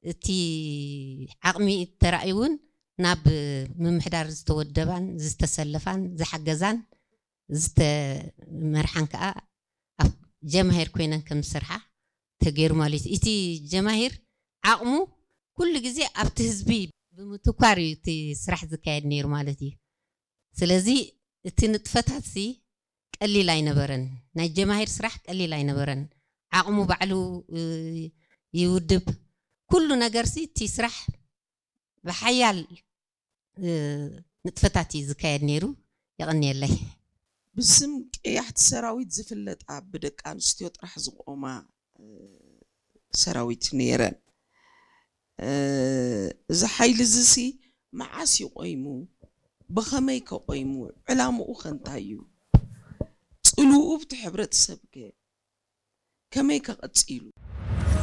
እቲ ዓቕሚ ተራእዩ እውን ናብ ምምሕዳር ዝተወደባን ዝተሰለፋን ዝሓገዛን ዝተመርሓን ከዓ ኣብ ጀማሂር ኮይነን ከም ዝሰርሓ ተገይሩ ማለት እዩ። እቲ ጀማሂር ዓቕሙ ኩሉ ግዜ ኣብቲ ህዝቢ ብምትኳር እዩ እቲ ስራሕ ዝካየድ ነይሩ ማለት እዩ። ስለዚ እቲ ንጥፈታት ሲ ቀሊል ኣይነበረን። ናይ ጀማሂር ስራሕ ቀሊል ኣይነበረን። ዓቕሙ ባዕሉ ይውድብ፣ ኩሉ ነገር ሲ እቲ ስራሕ ብሓያል ንጥፈታት እዩ ዝካየድ ነይሩ። የቐንየለይ። ብስም ቀያሕቲ ሰራዊት ዝፍለጣ ብደቂ ኣንስትዮ ጥራሕ ዝቆማ ሰራዊት ነይረን። እዚ ሓይሊ እዚ ሲ መዓስ እዩ ቆይሙ? ብኸመይ ከ ቆይሙ? ዕላምኡ ከ እንታይ እዩ? ፅልውኡ ብቲ ሕብረተሰብ ከ ከመይ ከ ቀፂሉ?